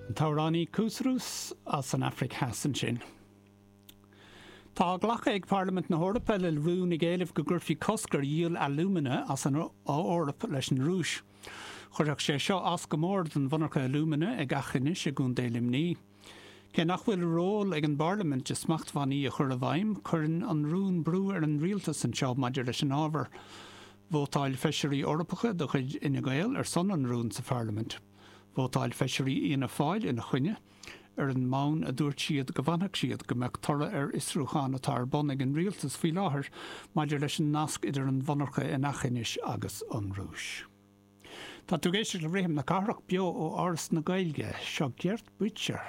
An t-amhránaí Couscous as an Afraic Theas ansin. Tá glactha ag Parlaimint na hEorpa le rún ag éileamh go gcuirfí cosc ar dhíol alúmana as an Eoraip leis an Rúis. Chuirfeadh sé seo as go mór don mhonarcha alúmana ag Aughinish i gContae Luimnigh. Cé nach bhfuil ról ag an bParlaimint i smachtbhannaí a chur i bhfeidhm, cuireann an rún brú ar an rialtas anseo maidir leis an ábhar. Vótáil feisirí Eorpacha de chuid Fhine Gael ar son an rúin sa Pharlaimint. Vótáil feisirí Fhianna Fáil ina choinne, ar an mbonn a dúirt siad go bhfanfadh siad go mbeadh toradh ar fhiosrúchán atá ar bun ag an rialtas faoi láthair maidir leis an nasc idir an mhonarcha in Aughinish agus an Rúis. Tá tú ag éisteacht le Rithim na Cathrach beo ó Áras na Gaeilge. Seo Gert Buttcher.